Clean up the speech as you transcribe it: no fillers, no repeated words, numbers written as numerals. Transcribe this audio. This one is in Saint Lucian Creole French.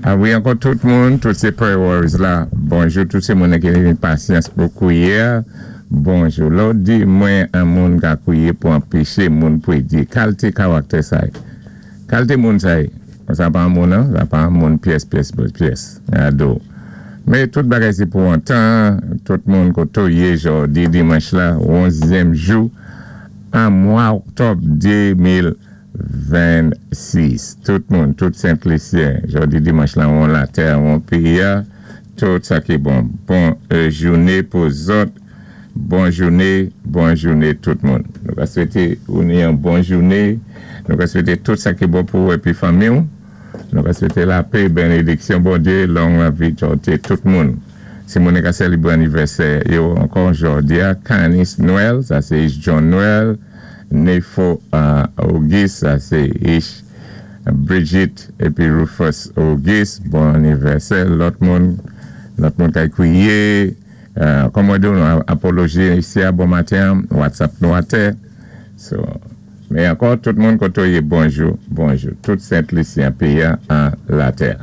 A wi, ankò tout moun, tout sé prayer warriors la, bonjou, tout sé moun ki ni pasyans pou kwiyé, bonjou. Lò di mwen an moun ka kwiyé pou anpéché moun pwédi. Kalité karaktè sa. Kalité moun sa. Sa pa moun an, sa pa moun pyès, pyès, pyès. Ado. Mé tout bagay sé pou an tan, tout moun koto yé jòdi dimanch la, 11èm jou, an mwa oktòb 2026. Tout moun, tout Sent Lisyen, jòdi dimanch la, an latè, an péyi, tout sa ki bon. Bon jouné pou zòt, bon jouné, bon jouné tout moun. Nou ka swété ou ni yon bon jouné, nou ka swété tout sa ki bon pou ou épi fanmi ou. Nou ka swété lapè, bénédiksyon, Bondyé, long lavi, jòdi, tout moun. Si moun ka sélébwé anivèsè, yo ankò jòdi a, Canis Noël, sa sé John Noël, Nefo Auguste, sa sé Ish Brigitte épi Rufus Auguste, bon anivèsè, lòt moun ka kwiyé, kòm mwen di nou apoloji isi a bon maten, WhatsApp nou atè. So, mé ankò tout moun koto yé bonjou, bonjou, tout Sent Lisyen péyi an latè.